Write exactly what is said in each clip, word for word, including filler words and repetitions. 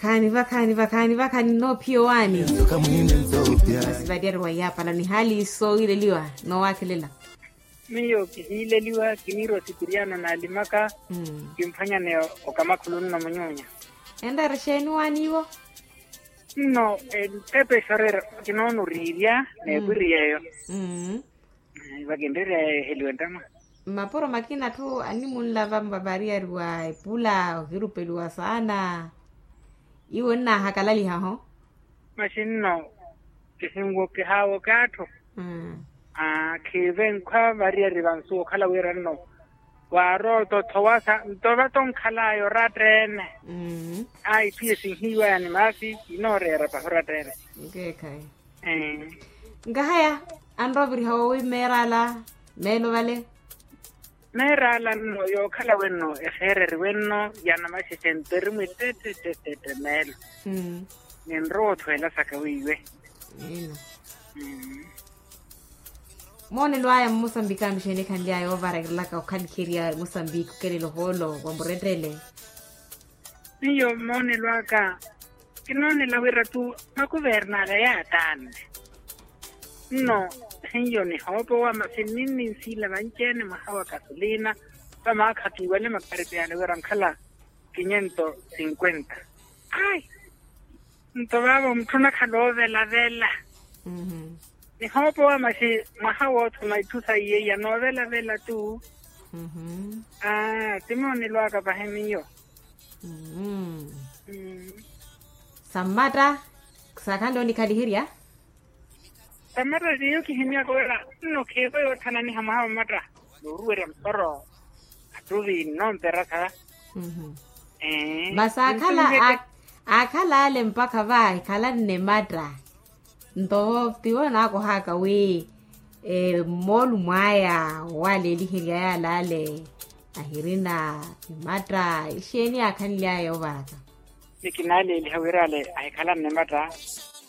Khaani vakhaani vakhaani vakhaani nnoophiya owaani. Masi valyari wa yaapala ni haali soowileliwa noowakhelela. Miyo kihiileliwa kiniira osipiriano naalimaka. Kimphwanyane okamakhulu nno munyunya. Enreera exeeni owaani iwo? Nno entepe exorera kinoona oriirya n'epwiri yeeyo. Vakinreerya eheliwe ntamwa. Mmapuro makina atthu animunlava mvavariyari wa epula ohirupeliwa saana. Iwe nnaahakalalihaho. Masi nno kihinwokehawoke atthu. Khiivenkhwa variyari vansu okhala wira nno waarooto thowasa nto vato nkhalaya oratta-ene. Ayi phiye sinhiiwaya ni maasi kinooreera pahi oratta-ene. Nkeekhayi. Nkahaya anrooviriha wowi meerala meelo vale. Meerala nno yookhala wenno exeereriwe nno ya namaxexe nto eri mwittettettette meelo. Ninrowa othweela saka weiwe. Moonelo aya mmosambiki anu xeeni ekhanly'aya oovarakelaka okhaliherya mosambiki okelela ohoolo wa murettele. Miyo moonelo aka kinoonela wira tu makuvernaala yaataanne. Nno hiyo nihoopowa masi ninninsiila vanci-ene mwaha wa kasolina. Vamaakha kiiwale makaripeyale wira nkhala kinye nto sinkwenta. Ayi nto vaavo mutthu onakhala oovelavela. Nihoopowa masi mwaha woothuma itthu saiye iya noovelavela tu. Aa ti moonelo aka pahi miyo. Sammatta saakhanle onikhaliherya. Sammatta tiyo kihimyaka wira nno khiivo yoothananiha mwaha wa mmatta. Nooruwerya mporo attuvi nnompera sa. Masi aakhala ale mpakha va ahikhalanne matta. Nto tiwo naakohaka wi mmoolumo aya owaleeliherya yaalale ahirina imatta ixeeni yaakhanly'aya yoovaraka. Ni kinaaleeliha wira ale ahikhalanne matta.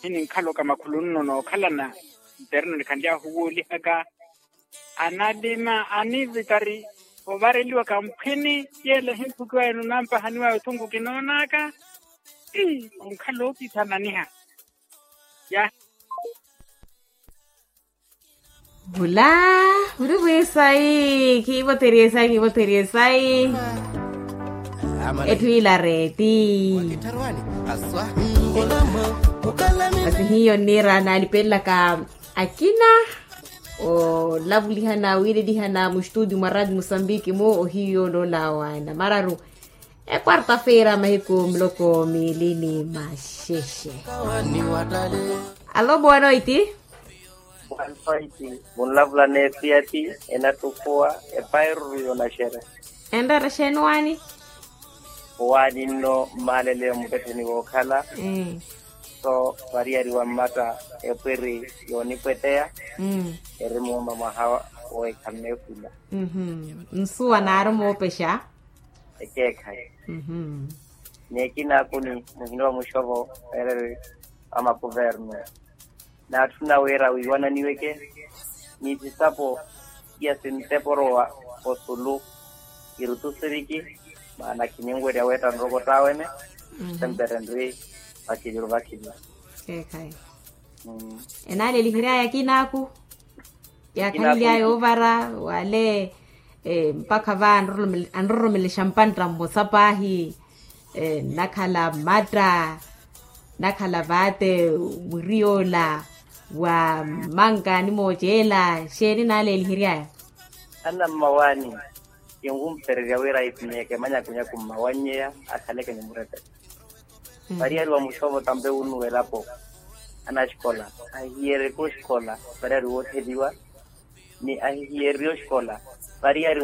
Hininkhala okamakhulu nno nookhalana ntereno nikhanly'ahu woolihaka. Analima anivitari ovareliwa kamphwini yeela ehimphukiwa enu nampahaniwa othunku kinoonaka. Onkhala ookithananiha. Ya. Vula vuri vwisayi khiivotherye sayi khiivotherye sayi. Etthu ila reeti. Masi hiyo nniira naalipelelaka akina olavulihana wiilelihana mustudio mwa radio mosambiki mu ohiyo loolawa namararu. Ekwarta-feira mahiku miloko miili ni maxexe. Alo boa noiti. Boa noiti. Munlavula n'efiati enattukuwa epairuru yoonaxera. Enreera exeeni owaani? Owaani nno mmaalele muttetteni wookhala. So variyari wa mmatta epwiri yoonipweteya. Eri muuma mwaha woohikha mmeekhula. Nsuwa naari moopexa. Ekeekhayi. Ni ekinaaku ni muhina wa muxovo ereri a makuvernu. Naatthuna wira wiiwananiweke ni sisapo iya sinteporowa osulu. Irutu siriki maana khinyenwerya weetta nroko taawene. Sempre nri vakiliru vakiliru. Keekhayi. Enaaleliheryaya akina aku yaakhanly'aya oovara wale. Mpakha va anroromelexa mpantta mmosa paahi. Nnakhala mmatta nnakhala vaate. Wiri yoola wa mmanka ni mooceela xeeni naaleeliheryaya? Anammawaani kinwumpererya wira ahiphunyeeke manyakunyaku mmawannyeya akhaleke ni murepele. Variyari wa muxovo tampe wunnuwa elapo anaxikola ahihiyeryeke oxikola variyari wootheliwa. Ni ahihiyererye oxikola variyari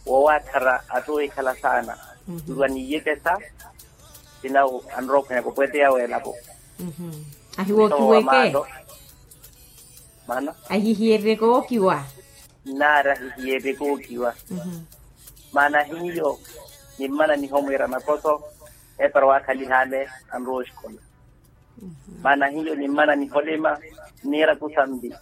woowatthara atthu oohikhala saana. Nrwa niiyekesa sinawu anrowa ophwanyaka opweteya w'elapo. Ahiwookiweke. Maana ahihiyererye kookiwa. Nnaari ahihiyererye kookiwa. Maana hiyo nimmana nihomwiira makoso epara waakhaliha ale anrowa oxikola. Maana hiyo nimmana niholima nniira kusambi.